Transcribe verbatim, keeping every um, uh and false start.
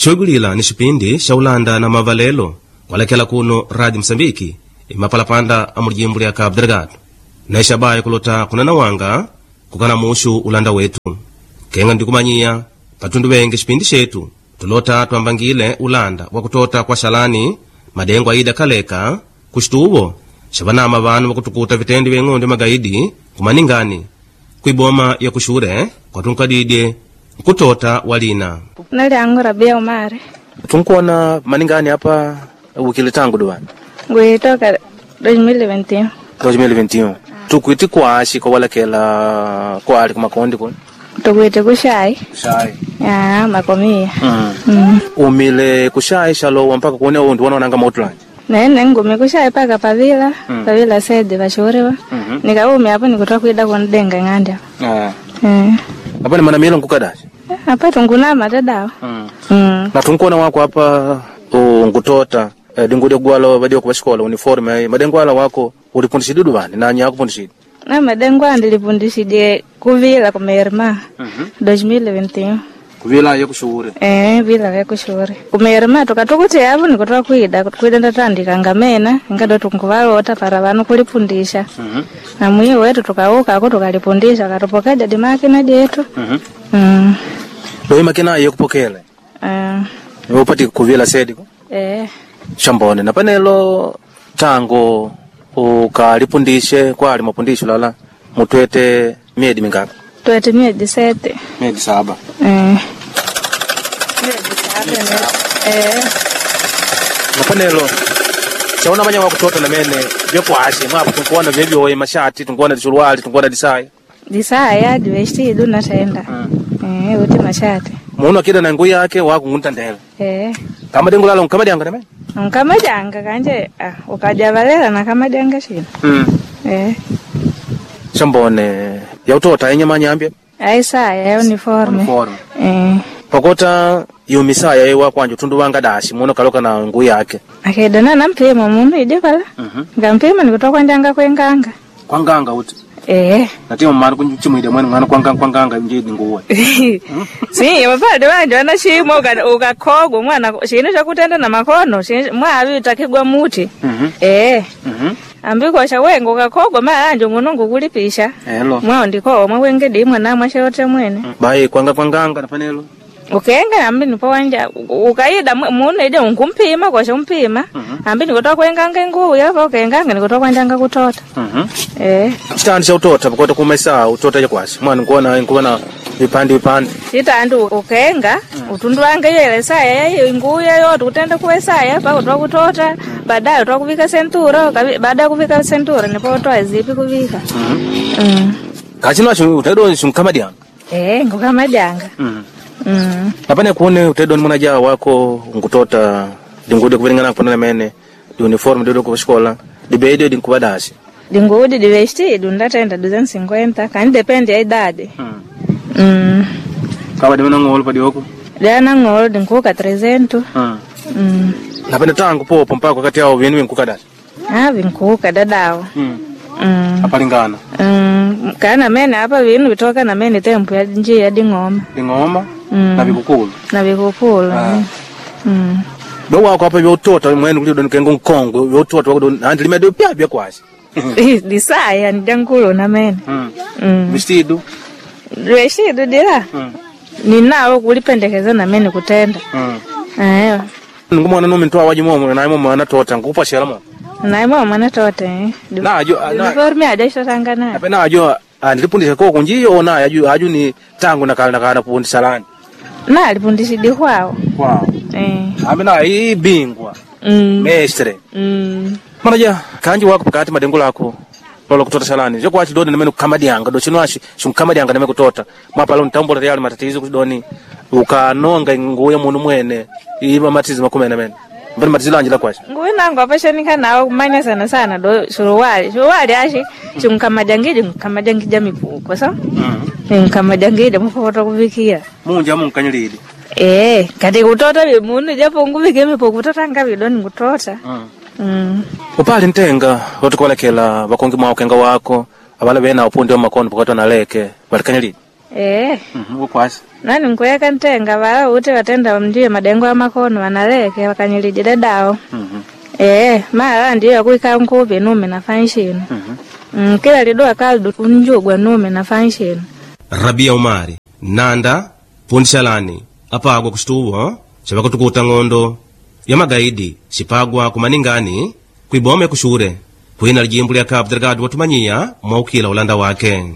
Xoigulila ni xipindi xa ulanda na mavalelo kualekela kuno Rádio Moçambique imapalapanda amulijimbo lya Cabo Delgado. Na ixabayi kulota kunanawanga kukana muxu ulanda wetu. Kenga ndikumanyiya patundu wenge xipindi xetu tulota twambangile ulanda wa kutota kwa xalani madengo aida kaleka kuxituwo xavanama vanu vakutukuta vitendi veng'ondo magaidi kumaningani kuiboma ya kuxure kwatunkadidye nkutota walina. Nalyangu Rabia Umari. Tunkuona maningani apa wikile tangu duwani? Ngwitoka dois mil e vinte e um. dois mil e vinte e um. Tukuiti kuaxi kowalekela kuali kumakondi kuno? Tukuiti kuxai. Kuxai. Ah, makomia. Mm. Mm. Umile kuxai xalowa mpaka kuone undu wanaonanga mautulanje? Nene ngumi kuxai paka pavila, Mm. pavila sede vaxuriwa. Mhm. Nikaumi apo nikutoa kuida kundenga ng'andi apo. Ah. Eh. Apa ni manamilo nkukadaxi? Apa tungunama tadawa. Mm. Mm. Na tunkuona wako apa ngutota eh, dingude gwalo vadio kwa xikola uniforme madengo ala wako ulipundishidi duvani na nyako pundishidi? Na madengo andilipundishidie kuvila kumeirma. Mhm. dois mil e vinte e um. Kuvila ye kushuure. Eh, vila vya kuxuri. Kumeirma tukatukuti apo nikutoa kuida, kuida ndatandika ngamena, ingado tunkuvalota para vanu kulipundisha. Mhm. Na mwiyo wetu tukauka ako tukalipundisha katupokeja dimakina jetu. Mhm. Mm. Doi makina ye kupokele. Ah. Upati kuvila sedi ko? Eh. Shambone na panelo tango ukalipundishe kwali mapundisho lala mutwete miedi mingapi? Twete miedi sete. Miedi saba. Eh. Miedi saba. Eh. Na panelo chaona manya wakutota na mene vyokwashe mwapo tunkuona vyevyoye mashati tunkuona disuluali tunkuona disai Disaya divestido natenda. Mm. Eh, uti mashati. muno akida na nguya yake wakungunta ndela Eh. kama dengo lalo kama dyanga na mene Nkamajanga kanje ah, ukajavalela na kamajanga shina. mm. Eh. Shambone yautota enyamanyambya Ai saya ya uniforme. uniforme Eh. pakota yumisaya yewa kwanja utundu wanga dashi muno kaloka na nguya yake Akeda na nampima munu ije pala. mm -hmm. Ngampima nikutoka kwanjanga kwenganga. kwanganga uti Eh. natiyo mmana kunchimwide mwene mwana kwanganga kwanganga njidi nguwe Si, vapali vanje vana shimo ukakhogwa mwana shinu chakutenda na makono shinu- mwavi utakigwa muti. mm Eh. -hmm. Ambikosha wenga ukakhogwa malanje muno ngukulipisha. elo Mwao ndikowa mwawenge dimwa namwa shote mwene. bai kwanga kwanganga napanelo Ukenga ambi nipo wanja ukaida mwe- muno ije unkumpima kosha umpima. Ambi nikutoa kwenganga nguvu yava ukenganga nikutoa kwanjanga kutota. mm -hmm. Eh. chitandi cha utota pakota kumesa utota chakwasi mwana nkuona nkuona vipande vipande Chitandi ukenga utundu wange yele saya yayo nguya yote utenda kuwe saya pa utoa kutota baadaye utoa kuvika sentura ukavi- baada ya kuvika sentura nipo utoa zipi kuvika. mm -hmm. Mm. kachino acho utaido shunkamadianga Eh, ngukamajanga. mm. Mm. napane kuone utaidoni mwanaja wako nkutota dingude kuvilingana kupanana mene di uniforme dido kushikola dibeide dinkuvadasi Dingudi divestido ndatenda duzentos e cinquenta, kandi depende ya idade. mm. Mm. kaba dimena ng'olo padioko Dana ng'olo dinkuka trezentos. mm. Mm. napane tangu popo mpaka wakati awo vinu vinkukadasi Ah, vinkuka dadawa. mm. Mm. apalingana Mm. Kana mene apa vinu vitoka na mene tempo ya njia ding'oma. ding'oma Mm. na vikukulu Na vikukulu. Ah. Mm. do wako apa vyotota mwene kuti doni kengo nkongwe vyotota wako andi limedo pya vyakwasi Disaya ni jankulu na mene. mm. Mm. vestido Vestido dila. mm. Ninawo kulipendekeza na mene kutenda. mm. Eh. ngumwana numi ntwa waji momo naye momo anatota nkupashela mo Naye mama anatote. eh. na ajo na Uniforme ajaishatanga naye. apena ajo andilipundisha koko njiyo ona aju aju ni tangu nakala nakala pundisha lani Na alipundishidi kwao. kwao Eh. amena ibingwa Mm. mestre Mm. manaja kanji wako pakati madengo lako lolo kutota salani zyo kwachi doni namene kukamadianga do chino ashi shunkamadianga namene kutota mwapalo ntambola tayari matatizo kudoni ukanonga nguya munu mwene iba matatizo makumene mene mbali matatizo anjila kwachi Nguwi nangu apashanika nawo kumanya sana sana do suruwali. Suruwali ashi chunkamajangija nkamajangija mipuko so. mm. Nkamajangija mufoto kuvikia. munja munkanyilidi Eh, kati kutota bi munu japo nguvike mipuko kutota ngavi doni kutota. mm. Mm. upali ntenga watukolekela vakongi mwawo kenga wako avala vena upundi wa makono pakati wanaleke valikanyilidi Eh, mm -hmm. ukwasi Nani nkuweka ntenga vala uti watenda ndiyo madengo ya makono wanaleke wakanyilijile dawo. Mhm. Ee, mara ndiyo kuika nkupi nume na fanshino. Mhm. Mm, kila lidoa kaldu unjugwa nume na fanshino. Rabia Umari nanda pundishalani apagwa kuxituwo xavakutukuta ng'ondo ya magaidi xipagwa kumaningani kuibome kuxure kwina lijimbo lya Cabo Delgado watumanyiya mwaukila ulanda wake.